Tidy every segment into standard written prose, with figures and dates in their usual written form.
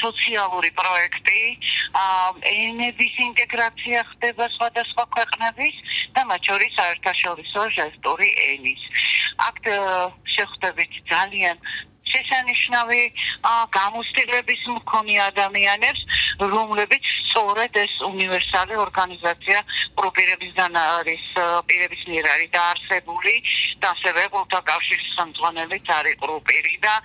სოციალური პროექტი, ენების ინტეგრაცია ხდება სხვადასხვა ქვეყნების და მათ შორის საერთაშორისო ჟესტური ენის. აქ შეხვდებით ძალიან შესანიშნავი გამოცდილების მქონე ადამიანებს, რომლებიც სწორედ ეს უნივერსალური ორგანიზაცია პროპირებისგან არის პირების მიერ არის დაარსებული და ასევე ყურთა კავშირის ხელმძღვანელიც არის პროპირი და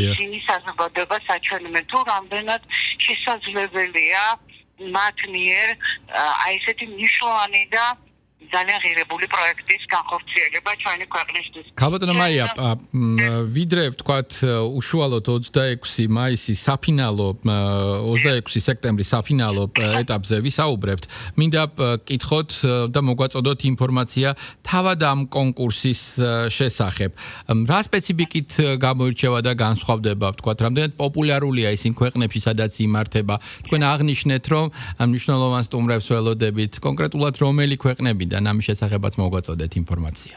ისინი საზოგადოება საჩვენებენ თუ რამდენად შესაძლებელია მათ მიერ აი ესეთი მნიშვნელოვანი და ძალიან ღირებული პროექტის განხორციელება ჩვენი ქვეყნისთვის. ქალბატონო მაია, ვიდრე ვთქვათ უშუალოდ 26 მაისი საფინალო 26 სექტემბრის საფინალო ეტაპზე ვისაუბრებთ, მინდა კითხოთ და მოგვაწოდოთ ინფორმაცია თავად ამ კონკურსის შესახებ. რა სპეციფიკით გამოირჩევა და განსხვავდება, ვთქვათ, რამდენად პოპულარულია ისინი ქვეყნებში, სადაც იმართება. თქვენ აღნიშნეთ, რომ მნიშვნელოვან სტუმრებს ველოდებით, კონკრეტულად რომელი ქვეყნები და ამის შესახებაც მოგვაწოდეთ ინფორმაცია.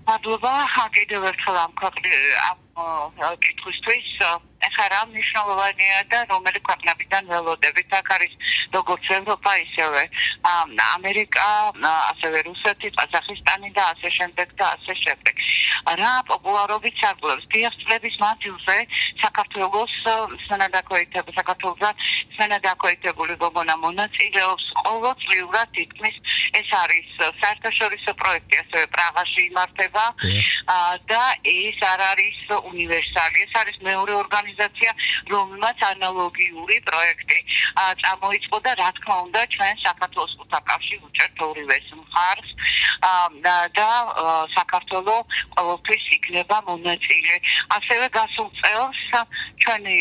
მადლობა, კიდევ ერთხელ ამ კითხვისთვის. ეხლა რა მნიშვნელოვანია და რომელი ქვეყნებიდან ველოდებით? აქ არის როგორც ევროპა, ისევე ამერიკა, ასევე რუსეთი, ყაზახისტანი და ასე შემდეგ და ასე შემდეგ. რა პოპულარობით სარგებლობს? დიახ, წლების მანძილზე საქართველოს სენადაკოიტებული გოგონა მონაწილეობს ყოველწლიურად თითქმის ეს არის საერთაშორისო პროექტი, ასევე პრაღაში იმართება და ეს არ არის უნივერსალი, ეს არის მეორე ორგანიზაცია, რომელმაც ანალოგიური პროექტი წამოიწყო და რა თქმა უნდა ჩვენ საქართველოს ყურთა კავშირი უჭერთ ორივეს მხარს და საქართველოს ყოველთვის იქნება მონაწილე. ასევე გასულ წელს ჩვენი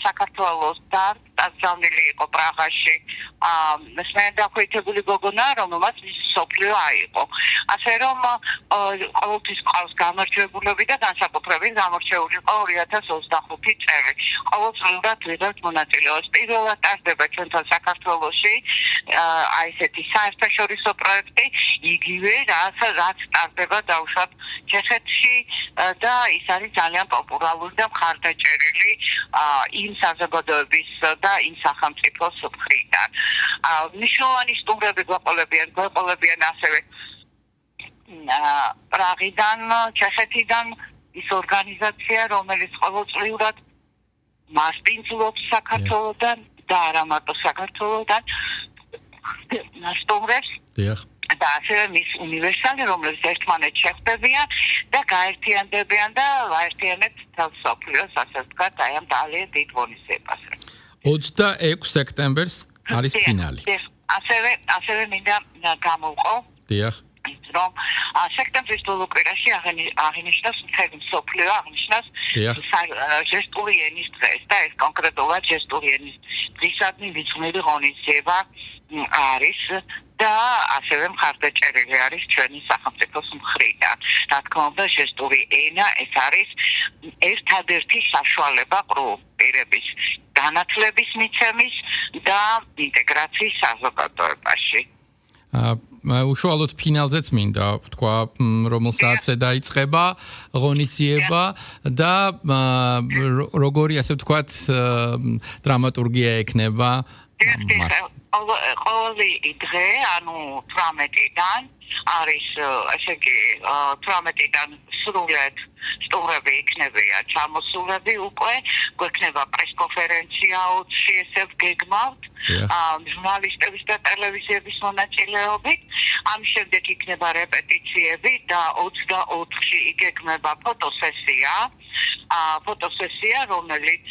საქართველოს დაწესებული იყო პრაღაში სენადაკოიტებული გოგონა, რომელმაც მსოფლიო აიღო. ასე რომ ყოველთვის ყავს გამარჯვებულები და განსაკუთრებით გამორჩეული იყო 2025 წელი. ყოველწლიურად ვიღებთ მონაწილეობას. პირველად ტარდება ჩვენთან საქართველოში აი ესეთი საერთაშორისო პროექტი, იგივე რაც ტარდება დაუშვათ ჩეხეთში და ის არის ძალიან პოპულარული და მხარდაჭერილი იმ საზოგადოების და იმ სახელმწიფოს მხრიდან. მნიშვნელოვანი სტუმრები გვეყოლებიან ასევე პრაღიდან, ჩეხეთიდან ის ორგანიზაცია, რომელიც ყოველწლიურად მასპინძლობს საქართველოდან და არა მარტო საქართველოდან სტუმრებს. და ასევე მის უნივერსალი, რომელიც ერთმანეთს შეხვდებიან და გაერთიანდებიან და აერთიანებთ თავს მსოფლიოს, ასე ვთქვათ, აი ამ ძალიან დიდ ღონისძიებას. 26 სექტემბერს არის ფინალი. ასევე მინდა გამოვყო. დიახ. რომ სექტემბრის ბოლო კვირაში აღინიშნოს მთელი მსოფლიო აღნიშნოს ჟესტური ენის დღეს და ეს კონკრეტულად ჟესტური ენის დღისადმი ვიწყვნილი ღონისძიება არის და ასევე მხარდაჭერილი არის ჩვენი სახელმწიფოს მხრიდან. რა თქმა უნდა, ჟესტური ენა ეს არის ერთადერთი საშუალება პირების განათლების მიცემის და ინტეგრაციის საზოგადოებაში. უშუალოდ ფინალზეც მინდა ვთქვა, რომელსაც დაიწყება ღონისძიება და როგორი ასე ვთქვათ დრამატურგია ექნება ყოველი დღე, ანუ 18-დან არის, ესე იგი 18-დან სრულად სტუმრები იქნებიან ჩამოსულები უკვე, გვექნება პრესკონფერენცია 20-ში ესე გეგმავთ, ჟურნალისტების და ტელევიზიების მონაწილეობით, ამის შემდეგ იქნება რეპეტიციები და 24-ში იგეგმება ფოტოსესია, რომელიც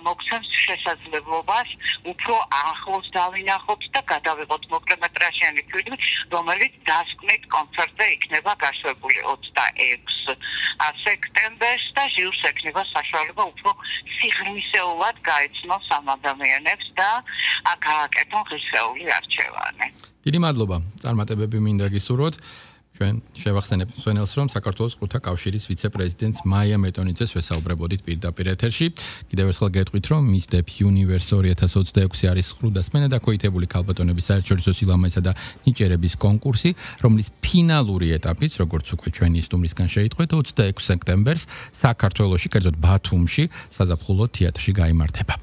მოგცემს შესაძლებლობას უფრო ახლოს დავინახოთ და გადავიღოთ მოკლემეტრაჟიანი ფილმი, რომელიც დასკვნით კონცერტზე იქნება გაშვებული 26 სექტემბერს და ჟიურს ექნება საშუალება უფრო სიღრმისეულად გაეცნოს ამ ადამიანებს და გააკეთონ ღირსეული არჩევანი. დიდი მადლობა. წარმატებები მინდა გისურვოთ. ჩვენ შევახსენებთ მსმენელს, რომ საქართველოს ყურთა კავშირის ვიცე-პრეზიდენტს მაია მეტონიძეს ვესაუბრებოდით პირდაპირ ეთერში. კიდევ ერთხელ გეტყვით, რომ Miss Dep Universe 2026 არის ყრუ და სენადაკოიტებული ქალბატონების საერთაშორისო სილამაზისა და ნიჭერების კონკურსი, რომლის ფინალური ეტაპიც, როგორც უკვე ჩვენი სტუმრისგან შეიტყვეთ, 26 სექტემბერს საქართველოში, კერძოდ ბათუმში, საზაფხულო თეატრში გაიმართება.